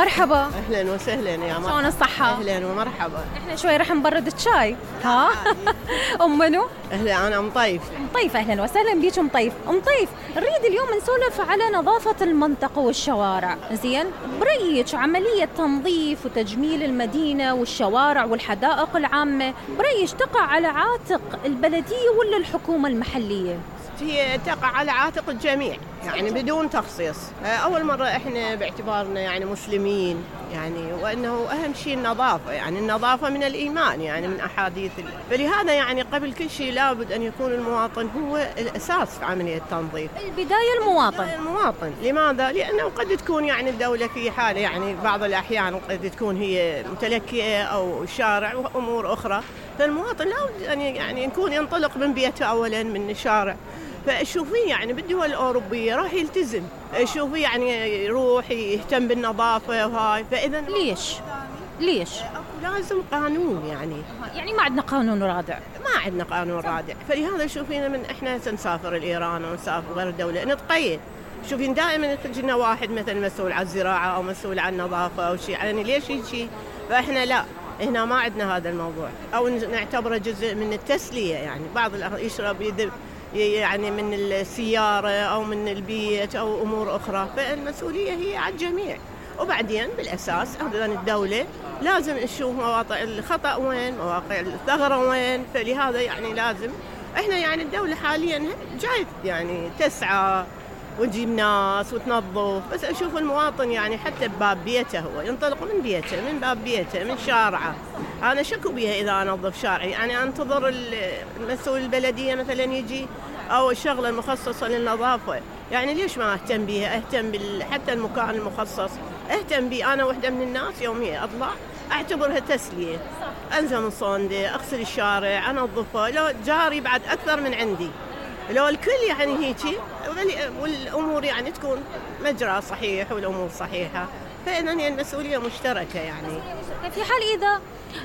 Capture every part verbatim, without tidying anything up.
مرحبا. اهلا وسهلا يا مرحبا. شلون الصحة؟ اهلا ومرحبا. احنا شوي رح نبرد الشاي. ها؟ ام منو؟ اهلا انا ام طيف. ام طيف اهلا وسهلا بيك ام طيف. ام طيف نريد اليوم نسولف على نظافة المنطقة والشوارع، زين؟ برأيك عملية تنظيف وتجميل المدينة والشوارع والحدائق العامة، برأيك تقع على عاتق البلدية ولا الحكومة المحلية؟ هي تقع على عاتق الجميع يعني بدون تخصيص. أول مرة إحنا باعتبارنا يعني مسلمين يعني وأنه أهم شيء النظافة، يعني النظافة من الإيمان يعني من أحاديث، فلهذا يعني قبل كل شيء لابد أن يكون المواطن هو الأساس في عملية التنظيف. البداية المواطن. المواطن، لماذا؟ لأنه قد تكون يعني الدولة في حالة يعني بعض الأحيان قد تكون هي متلكئة أو الشارع وأمور أخرى، فالمواطن لابد أن يعني يكون ينطلق من بيته أولا من الشارع. فشوفيه يعني بالدول الأوروبية راح يلتزم، شوفيه يعني يروح يهتم بالنظافة وهاي. فإذا ليش؟ ليش؟ لازم قانون يعني يعني ما عندنا قانون رادع. ما عندنا قانون رادع، فلهذا شوفينا من إحنا سنسافر الإيران ونسافر غير الدولة نتقيد. شوفين دائما يجينا واحد مثلا مسؤول عن الزراعة أو مسؤول عن النظافة أو شيء، يعني ليش يجي؟ فإحنا لا، هنا ما عندنا هذا الموضوع، أو نعتبره جزء من التسلية. يعني بعض يشرب يذب يعني من السيارة أو من البيت أو أمور أخرى، فالمسؤولية هي على الجميع. وبعدين بالأساس أيضا الدولة لازم نشوف مواقع الخطأ وين، مواقع الثغرة وين، فلهذا يعني لازم إحنا يعني الدولة حاليا جاي يعني تسعى وتجيب ناس وتنظف، بس أشوف المواطن يعني حتى بباب بيته هو ينطلق من بيته، من باب بيته، من شارعه. أنا شكو بيها إذا أنظف شارعي، يعني أنتظر المسؤول البلدية مثلا يجي أو الشغلة المخصصة للنظافة، يعني ليش ما أهتم بيها؟ أهتم بال... حتى المكان المخصص أهتم بيه. أنا واحدة من الناس يوميا أطلع أعتبرها تسلية، أنزل من صندي، أغسل الشارع، أنظفه، لو جاري بعد أكثر من عندي، لو الكل يعني هيجي والأمور يعني تكون مجرى صحيح والأمور صحيحة، فإذا هي المسؤولية مشتركة. يعني في حال إذا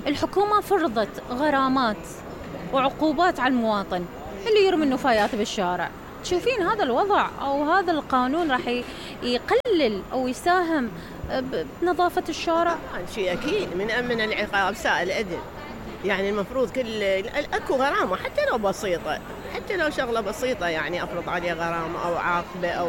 الحكومة فرضت غرامات وعقوبات على المواطن اللي يرمي النفايات بالشارع، تشوفين هذا الوضع أو هذا القانون راح يقلل أو يساهم بنظافة الشارع؟ شيء أكيد، من أمن العقاب سائل أدل، يعني المفروض كل أكو غرامة حتى لو بسيطة، حتى لو شغلة بسيطة يعني أفرض عليه غرامة أو عاقبة أو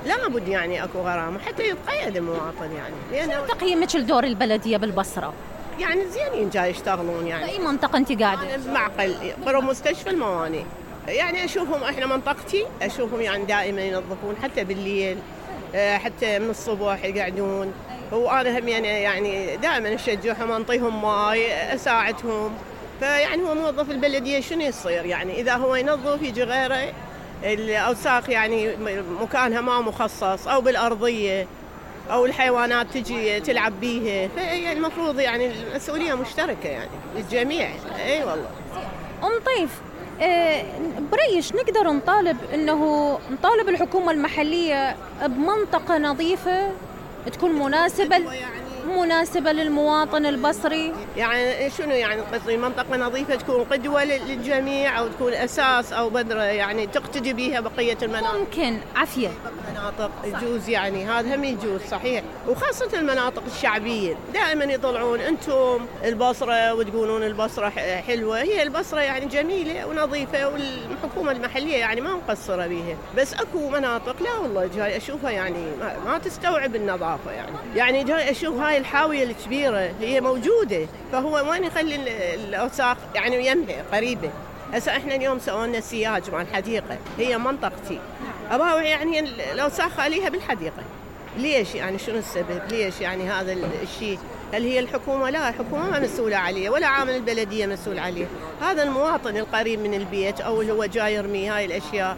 لابد يعني أكو غرامة حتى يتقيد المواطن. يعني لأن تقييمك لدور البلدية بالبصرة؟ يعني زينين جاي يشتغلون. يعني أي منطقة أنت قاعدة؟ معقل برا مستشفى الموانئ، يعني أشوفهم إحنا منطقتي أشوفهم يعني دائما ينظفون حتى بالليل، حتى من الصبح يقعدون، وأنا هم يعني يعني دائما أشجعهم أنطيهم ماي أساعدهم. فيعني هو موظف البلدية شنو يصير؟ يعني إذا هو ينظف يجي غيره الأوساخ يعني مكانها ما مخصص أو بالأرضية أو الحيوانات تجي تلعب بيها، فهي المفروض يعني المسؤولية مشتركة يعني للجميع. أي والله. أم طيف، برأيش نقدر نطالب إنه نطالب الحكومة المحلية بمنطقة نظيفة تكون مناسبة مناسبة للمواطن البصري؟ يعني شنو يعني قصدي منطقة نظيفة تكون قدوة للجميع أو تكون أساس أو بذرة يعني تقتدي بها بقية المناطق؟ ممكن عافية مناطق يجوز، يعني هذا هم يجوز صحيح، وخاصة المناطق الشعبية دائما يطلعون أنتم البصرة وتقولون البصرة حلوة، هي البصرة يعني جميلة ونظيفة والحكومة المحلية يعني ما مقصرة بها، بس أكو مناطق لا والله جاي أشوفها يعني ما تستوعب النظافة. يعني يعني جاي أشوف هاي الحاوية الكبيرة هي موجودة، فهو وين يخلي الأوساخ يعني يمها قريبة. هسه احنا اليوم سوينا سياج مع الحديقة، هي منطقتي، أبغى يعني الأوساخ خليها بالحديقة. ليش يعني شنو السبب؟ ليش يعني هذا الشيء؟ هل هي الحكومة؟ لا، الحكومة ما مسؤولة عليه ولا عامل البلدية مسؤول عليه، هذا المواطن القريب من البيت أو اللي هو جاي يرمي هاي الأشياء.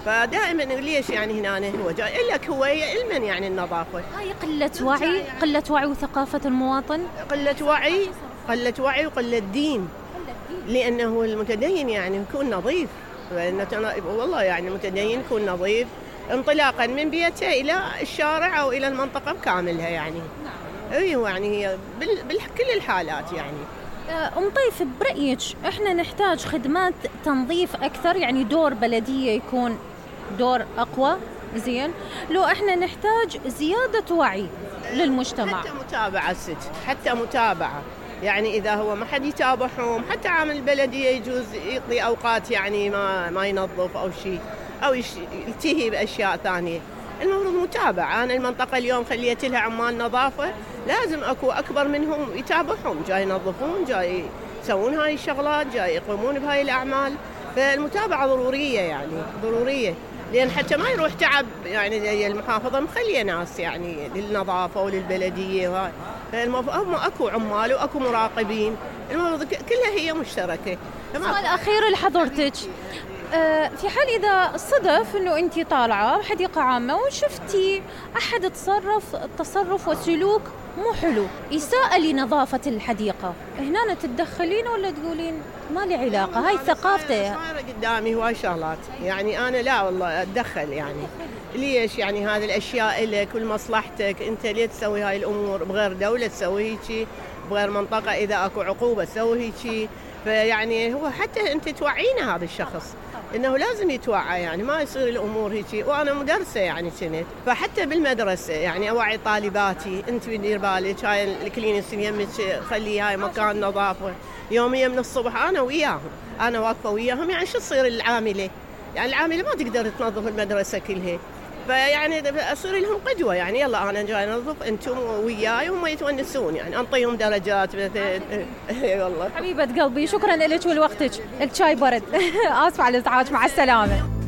فدائما ليش يعني هنا هو جاي لك هو علما يعني النظافة. هاي قلة وعي، قلة وعي وثقافة المواطن، قلة وعي، قلة وعي وقلة دين، لأنه المتدين يعني يكون نظيف، والله يعني المتدين يكون نظيف انطلاقا من بيته إلى الشارع أو إلى المنطقة بكاملها. يعني أيوة يعني هي بكل الحالات. يعني أم طيف، برأيك إحنا نحتاج خدمات تنظيف أكثر، يعني دور بلدية يكون دور أقوى، زين، لو إحنا نحتاج زيادة وعي للمجتمع. حتى متابعة ست، حتى متابعة، يعني إذا هو ما حد يتابعهم، حتى عامل البلدية يجوز يقضي أوقات يعني ما ما ينظف أو شيء، أو يلتهي بأشياء ثانية. المفروض متابعة. أنا المنطقة اليوم خليت لها عمال نظافة، لازم أكو أكبر منهم يتابعهم، جاي ينظفون، جاي يسوون هاي الشغلات، جاي يقومون بهاي الأعمال. فالمتابعة ضرورية، يعني ضرورية، لأن حتى ما يروح تعب. يعني المحافظة مخلية ناس يعني للنظافة وللبلدية وهاي، فالمفروض أكو عمال وأكو مراقبين، المفروض كلها هي مشتركة. سؤال أخير لحضرتك، في حال إذا صدف أنه أنت طالعة بحديقة عامة وشفتي أحد تصرف تصرف وسلوك مو حلو، إساءة لنظافة الحديقة، هنا تتدخلين ولا تقولين ما لي علاقة؟ هاي ثقافته. صايرة قدامي هواي شغلات، يعني أنا لا والله أتدخل. يعني ليش؟ يعني هذه الأشياء لك ولمصلحتك، أنت ليه تسوي هاي الأمور؟ بغير دولة تسوي هيك، بغير منطقة إذا أكو عقوبة تسوي هيك. فيعني هو حتى أنت توعينا هذا الشخص إنه لازم يتوعى، يعني ما يصير الأمور هيك. وأنا مدرسة يعني كنت، فحتى بالمدرسة يعني أوعي طالباتي، أنت بدير بالك هاي الكلينكس يمك، خلي هاي مكان نظافة يوميا من الصبح. أنا وياهم، أنا واقفة وياهم. يعني شو تصير العاملة؟ يعني العاملة ما تقدر تنظف المدرسة كلها، فيعني أصير لهم قدوة. يعني يلا أنا جاي أنظف، أنتم وياي، وهم يتونسون، يعني أنطيهم درجات مثلا. والله حبيبة قلبي، شكرا لك ولوقتك. الشاي برد. آسفة على الإزعاج، مع السلامة.